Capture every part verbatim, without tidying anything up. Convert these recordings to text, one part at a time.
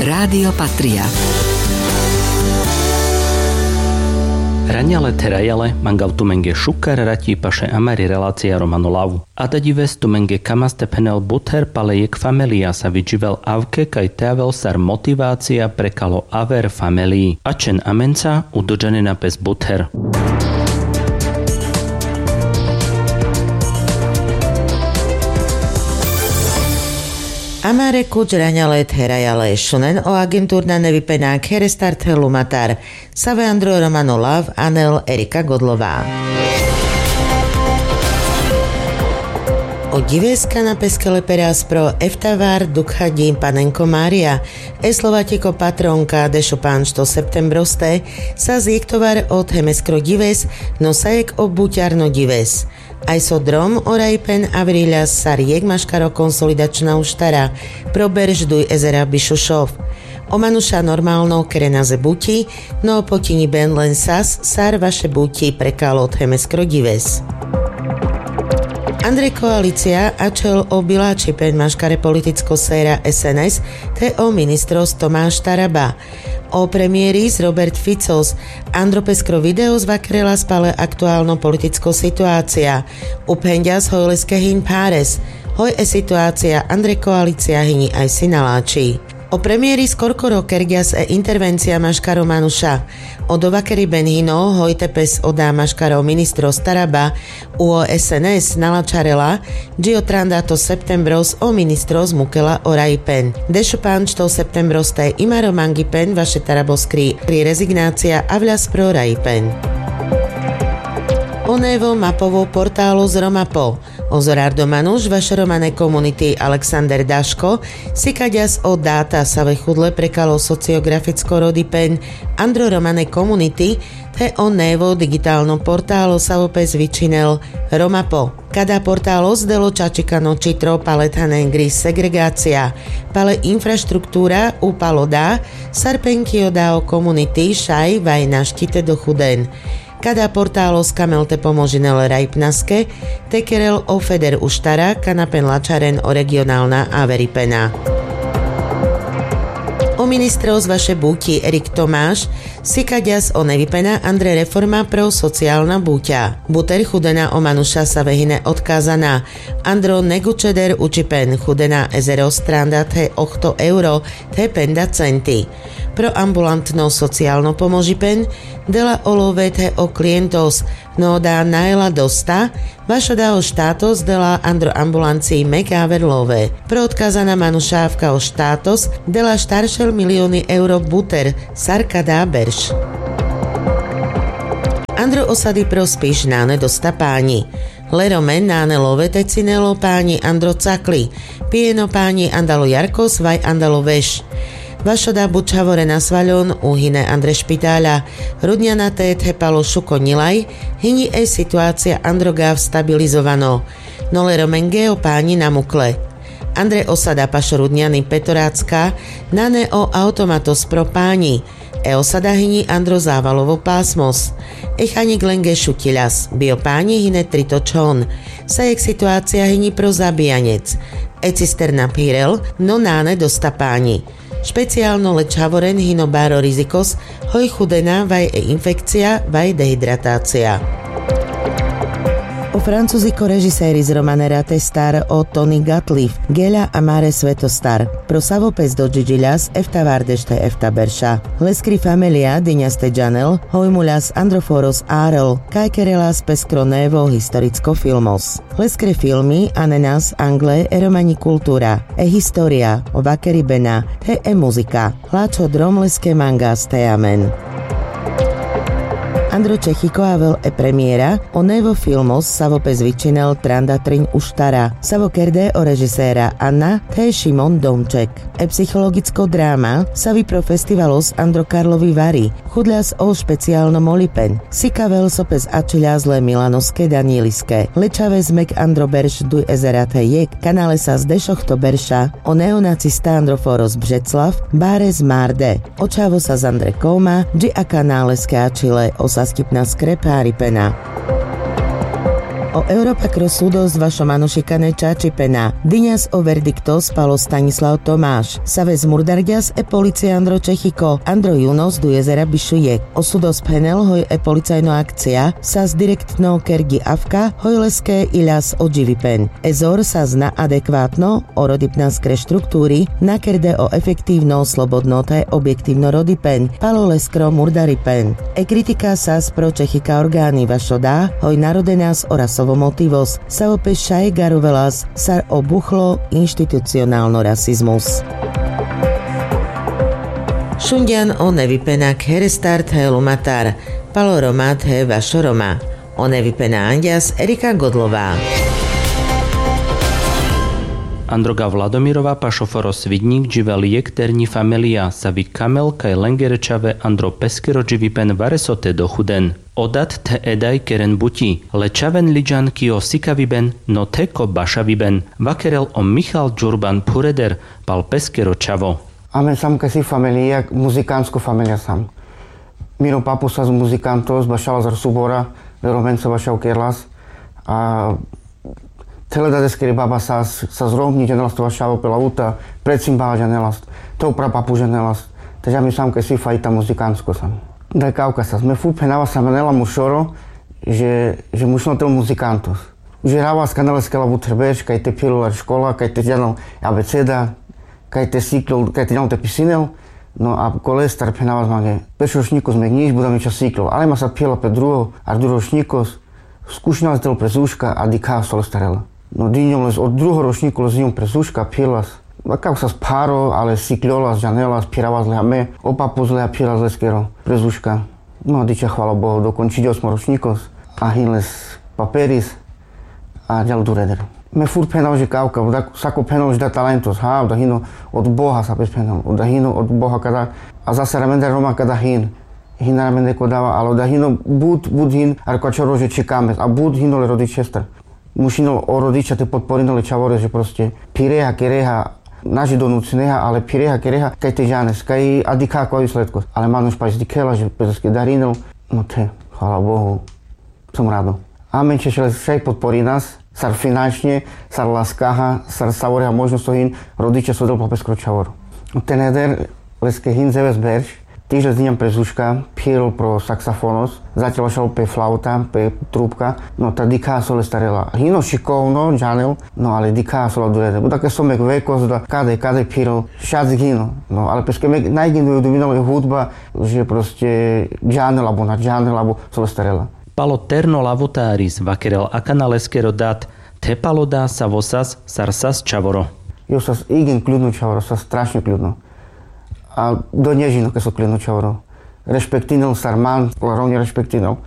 Rádio Patria. Raňale therajale, mangav tumenge šukkar rati paše amari relácia Romano Lav. Ada dives tumenge kamaste phenel buther pale jekh famelia sa vidživel avke kaj te avel sar motivácia pre kalo aver famelii. Ačhen amenca udržanena pes buther. Amare kuč raňale therajale, šunen o agenturna nevipena kherestar the lumatar. Save andro Romano Lav, anel Erika Godlová. O dives kana pes kele peras pro eftavar Dukha Ďin Panenko Mária, e Slovačiko patronka dešopančto septembroste, sa zjektovar o themeskro dives, no sa jekh o buťarno dives. Aj so drom o rajpen avriľas sar jekh maškaro konsolidačná uštara pro berš duj ezera bišušov. O manuša normálno kerena ze buťi, no potiňiben len sas sar vaše buťi pre kalo themeskro dives. Andre koalícia ačhel o bilačipen maškare politicko séra S N S the o ministros Tomáš Taraba. O premiéris Robert Ficos andro peskro videos vakerelas pale aktuálno politicko situácia. Uphenďas hoj leske hiň pháres, hoj e situácia andre koalícia hiňi aj si naláči. O premiéris korkoro kerďas e intervencia maškaro manuša. O dovakeriben hino hoj te pes oda maškaro ministros Taraba, u o S N S nalačarela, dži o trandato septembros o ministros mukela o rajpen. Dešopančto septembroste imaro mangipen vaše Taraboskri rezignácia avľas pro rajpen. O nevo mapovo portálos Romapo. O Zorardo Manuš vaše romane komunity Alexander Daško sikaďas o dáta save chudle pre kalo sociograficko rodipen andro romane komunity, the o nevo digitálno portálo savo pes vičhinel Romapo. Kada portálos delo čačikano čitro pale thanengri segregácia, pale infraštruktúra upalo dá, sar penky o dá o komunity šaj vaj našti te dochuden. Kada portálos kamel te pomožinel rajpnaske, te kerel o feder uštara, kana pen lačaren o regionálna averipena. O ministros vaše buťi Erik Tomáš sikaďas o nevipena andre reforma pro sociálna buťa. Buter chudena o manuša save hine odkázaná. Andro negučeder učipen chudena ezero stranda the ochto euro the penda centi. Pro ambulantno sociálno pomožipen dela o love the o klientos, no dá naela dosta, vašo dá o štátos dela andro ambulancii mek aver love. Pro odkázaná manuša avka o štátos dela štaršel milióny euro buter sar kada berš. Andro osady pro Spiš nane dosta páňi. Le Romen nane love te cinel o páňi andro cakli, pijeno páňi andalo jarkos vaj andalo veš. Vašo dá bučhavorena svaľon uhine andre špitáľa. Rudňana te the palo šuko ňilaj, hiňi e situácia andro gav stabilizovano. No le Romenge o páňi namukle. Andre osada paš Rudňany Petorácka nane o automatos pro páňi. E osada hiňi andro závalovo pásmos. E chaňik lenge šutiľas, bio páňi hine trito čhon. Sa jekh situácia hiňi pro zabijaňec. E cisterna phirel, no nane dosta páňi. Špeciálno le čhavoren hino báro rizikos hoj chudena vaj e infekcia vaj dehidratácia. O francuziko režiséris romane rate star o Tony Gatliff, Geľa a máre svetostar. Pro savo pes dodžiďiľas eftavárdeš the efta berša. Leskri famelia diňas te džanel hoj muľas andro foros árel, kaj kerelas peskro nevo historicko filmos. Leskre filmi anenas angle e romaňi kultúra, e história, o vakeribena the e muzika. Hlačho drom leske mangas the amen. Andro Čechiko avel e premiéra o nevo filmos savo pes vičinel Tranda triň uštara, savo kerde o režiséra Anna the Šimon Domček. E psychologicko dráma savi pro festivalos andro Karlovi vari. Chudľas o špeciálno molipen sikavel so pes ačhiľas le Milanoske Danieliske. Le čhaves mek andro berš duj ezera the jekh, kana le sas dešochto berša o neonacista andro foros Břeclav báre zmárde. O čhavo sas andre kóma dži a kana leske ačhile o saskipnaskre pháripena. O Europakro súdos vašo manušikane čačipena. Diňas o verdiktos palo Stanislav Tomáš. Saves murdarďas e policiandro Čechiko, Andro Junos Dujezera bišujek. O súdos phenel hoj e policajno akcia sas direktno kerďi avka, hoj leske iľas odživipen. E zor sas na adekvátno o rodipnaskre štruktúri nakerde o efektívno slobodno the objektívno rodipen palo leskro murdaripen. E kritika sas pro Čechika orgány vašo dá hoj narodenas o rasovo motivos, savo pe šaj garovelas sar o buchlo inštitucionálno rasizmus. Šunďan o nevipenak herestar the lumatar palo Roma the vašo Roma. O nevipena anďas Erika Godlová. Androga Vladomirova pa šoforo Svidňik dživel jekh terňi familija, savi kamel kaj lengere čhave Andro peskero dživipen vareso te dochuden. O dat the edaj keren buti, le čhaven liďan ki o sikaviben, no the ko bašaviben, vakerel o Michal Ďurban phureder pal peskero čhavo. Amen sam kesi familija, muzikantsko familija sam. Miro papu sas muzikantos, bašalas ar subora, le Romenca bašav kerelas. A thele dadeskeri baba sas, sas Romňi, džanelas te bašavel pe lauta, precimbala džanelas, te o prapapu džanelas. Te dža mi sam kesi fajta muzikantsko sam. Da kavka sas, me fur phenava sa manela mo šoro, že, že mušno tel muzikantos. Užerava sa kanela skela but herberš, kaj te phirol ar škola, kaj te džanel abeceda, kaj te siklol, kaj te džanel te pisinel, no a kolestar phenava sa mange. Peš rošňikos me gnjiš, buda me čha siklol. Ale ma sa phirla pe drugo, ar drugo rošňikos, skušinela tel prezuška, a dikha so lestarela. No diňom les, o drugo rošňiko les diňom prezuška, phirlas. Vakav sas pharo, ale sikljolas, džanelas, phiravas le ame, o papus le phirlas leskero prezuška. No, dičha hvala Bohu, dokončinel osmo rošňikos, a hin les paperis, a džal dureder. Me fur phenava že kavka, da, sako phenava že da talentos, ha, da hino od Boha, sa pes phenava, da hino od Boha kada, a zasar amendar Roma kada hin, hin amende kodava, alo da hino but, but hin, ar ko čhavo že čhikames, a but hino le rodičestar. Mušinel o rodiča te potporinel le čhavore, že proste phireha, kereha, na že donucineha, ale phireha, kereha, kaj te džanes, kaj a dikha kova i sledkos. Ale manuš paš dikhela, že pe leske darinel, no the, hvala Bohu, som rado. Amen čhešel le šaj potporinas, sar finančne, sar laskaha, sar savoreha možnost so hin, rodiča so del pal peskro čhavoro. Teneder, leske hin dzeves berš, tiž le diňam prezuška, phirol pro saksafonos, začal bašal pe flauta, pe trubka, no ta dikha so lestarela. Hino šikovno, džanel, no ale dikha so la dureder. Buda ke som ek vekos, da kade, kade phirol, šac hino. No, ale peske me najgin duminel hudba, že proste džanel abo na džanel abo so lestarela. Palo terno lavutaris vakerel akana leskero dat, the palo da savo sas, sar sas čhavoro. Jo sas igin kľudno čhavoro, sas strašno kľudno. A do dnešno ke so kľudno čhavoro. Rešpektinel sar man, la Romňa rešpektinel.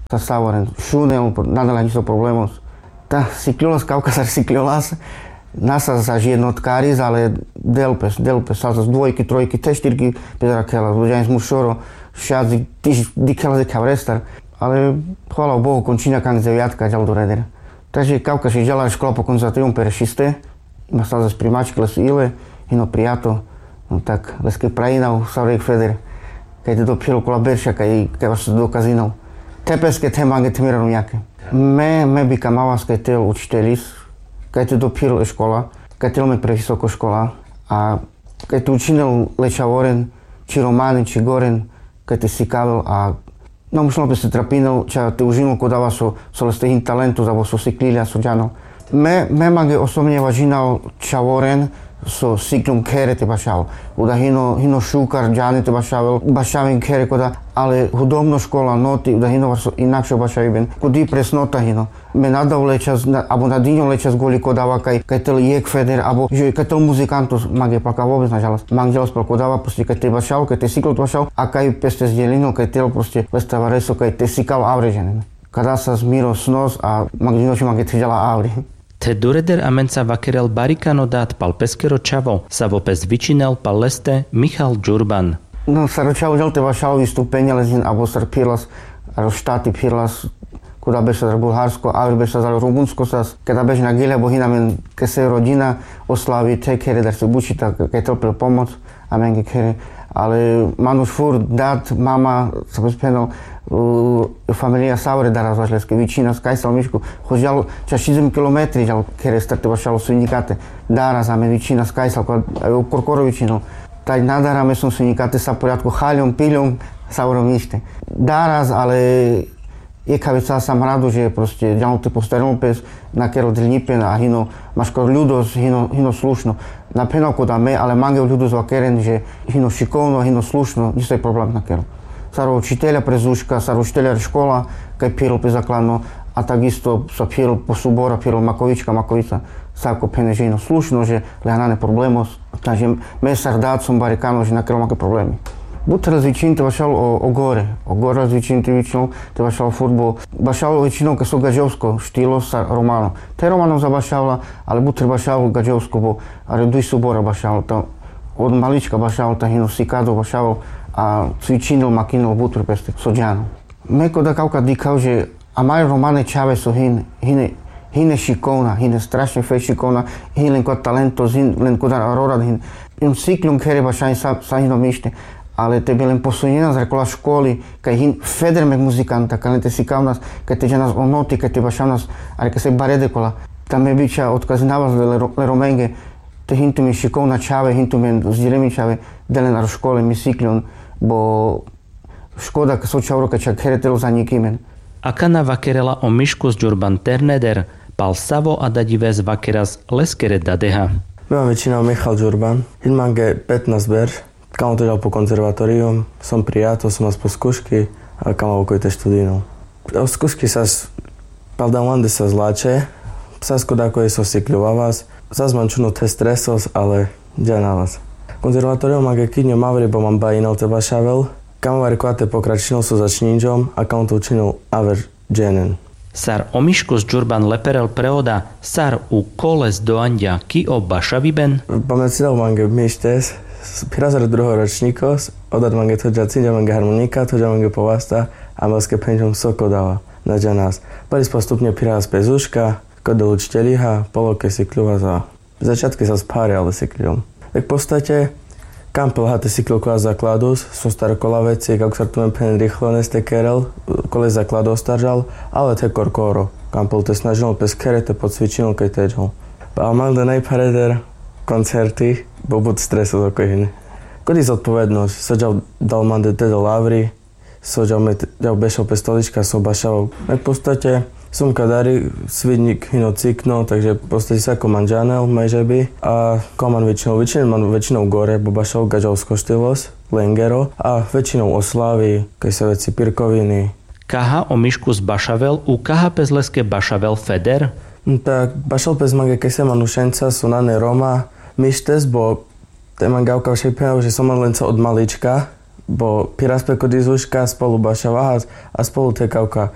Sar savoren, šunel, nanela niso problemos. Ta sikljolas kavka sar sikljolas, na sas za jednotkaris, ale del pes, del pes, sas dvojki, trojki, te štirki, pe dara khela, džanes mo šoro, šac, tiž dikhela de khavrestar. Ale, hvala Bohu, končinđa kang dzevijatka, džal dureder. Taže kavka še džala škola, pokon za te jum perešiste, ima sas primački, lese ile, hino prijato, no tak, leske prajinav, sar jekh feder, kaj te dophirol kola berša, kaj, kaj vaš te dokazinol. Te peske, te mange, te mira Romňake. Me, me bi kamavas kaj te učitelis, kaj te dophirol e škola, kaj te lom e previsoko škola, a kaj te učinel le čhavoren, či Romanen, či Goren, kaj te sikavel, a na mušinol pes te trapinel, ča te užinol kodava so, so leste hin talentus, abo so siklilja, so džanel. Me, me mange osobne važinav čhavoren so sikljon khere te bašavel. Uda hino, hino šukar džane te bašavel, bašaven khere koda, ale hudobno škola noti, uda hino vaš so inakšo bašaviben. Kudi presnota hino. Me na dav le čas, na, abo na dinjom le čas goli kodava kaj, kaj te le jekh feder, abo, že, kaj te le muzikantus, mange pal ka vobes na džalas. Mange džalas pal kodava, proste, kaj te bašal, kaj te siklo te bašal, a kaj pes te zdjelinol, kaj te le, proste, leste vareso, kaj te sikal avre džanen. Kada sas miro snos, a mange džinoš, mange te džala avri. Te dureder amenca vakerel bari kano dat pal peskero čhavo, savo pes vičinel pal leste Michal Džurban. No, sar o čhavo džal te bašal vistupenja lezin, abo sar phirlas, aro štati phirlas, Koda beša za Bulharsko, aver beša za Rumunsko sas, keda beša na gile, bo hina amen kese rodina, oslavi te khere dar se bučita, ke tel pe pomoc, amenge khere, ale manuš fur, dad, mama, sa pe pheno, familija sa ore daras vaš leske, vičina skaj sal Miško, ho džal čašidzim kilometri džal khere star te vašalo svinikate, daras amen vičina skaj sal, ko, e, korkoro vičino, taj na dara amen svinikate, sa porjatko haljom, piljom, sa ore Mište. Daras, ale jekha vec sa sam rado, že proste džanol te postarinol pes, na kerol deljipen, a hino maškar ljudos, hino, hino slušno. Na phena koda me, ale mange ljudos vakeren, že hino šikovno, hino slušno, niso problem na kerol. Sar o učitelja pre zuška, sar o učitelja re škola, kaj phirol pe zakladno, a tak isto sa phirol po subora, phirol Makovička, Makovica, sa ko phene že hino slušno, že le nane problemos, Taže me sar dad som barikano, že na kerol mange problemi. But razvičin te vašal o, o gore, o gore razvičin te vičnol, te vašal fudbal, vašal o vičino ke so gadžovsko štilo sar romano. Te romano za bašala, ale but bašal gadžovsko bo, are duj subora bašal, ta od malička bašal, ta hino sikado bašal, a cvičinol, makinol but peste, so džano. Me koda kavka dikhav, že amare romane čhave so hin, hine, hine šikovna, hine strašne fe šikovna, hin len koda talento, hin len koda rorad, hin, hin sikljon khere bašaj sa, sa hino Mište. Ale te bi len posunjena zar kola školi, kaj hin feder mek muzikanta, kaj len te sikavnas, kaj te džanas o noti, kaj te bašavnas, are kese barede kola. Ta me bičha otkazinava le, le Romenge, te hin tumen šikovna čhave, hin tumen zdiremi čhave, de len aro škole mi sikljon, bo škoda ke so čhavoro ka čhakhere telo zanjikimen. Akana vakerela o Miškus Džurban Terneder, pal savo adadives vakeras leskere dadeha. Me man vičina o Michal Džurban, hin mange petnas berš, kamo te džal po konzervatorijum, som prijato, som as po skuški, a kamo okoj te študinol. O skuški sas pal dan vande sas lačhe, sas koda koj so sikljovavas, sas man čuno te stresos, ale džanavas. Konzervatorijum mange kidnjo mavri bo man bajinel te bašavel, kamo aver kola te pokračinol so začnjinđom, a kamo te učinol aver dženen. Sar o Miškus Džurban le perel prevoda, sar u koles doanđa ki o bašaviben? Pamecidel mange Mištes, phira sar druho ročnikos, odar mange thođa cinđa mange harmonika, thođa mange povasta, a me leske phenđom so kodava, na džanas. Pali postupnje phira sas pe zuška, ko del učiteljiha, palo ke sikljova za Začatke sas phare, ale sikljom. Ek postate, kam pela hate sikljol kola zakladus, so star kola veci, kako sar tumen phenen rihlo neste kerel, kole zakladus star džal, ale the korkoro, kam pel te snažinol pes khere te pocvičinol kaj te džal. Pa amande najphareder koncerti, bo but streso so koj hine. Kodi zodpovednosć, so džal dal mande te dal avri, So džal me, džal bešal pe stolička, so bašal. Ek postate, som kadari svidnik hino cikno, takže postate sako man džanel, majže bi. A ko man većinou, većinou man većinou gore, bo bašal gađal skoštilos, lengero, a većinou o slavi, kaj se veci pirkovini. Kaha o Miškus bašavel, u kaha pes leske bašavel feder? Tak, bašal pes mange kese manušenca, so nane Roma, Mištes, bo te man gavka šaj phenel, že som man lenca od malička, bo piras pe kod izuška, spolu bašavahas, a spolu te kavka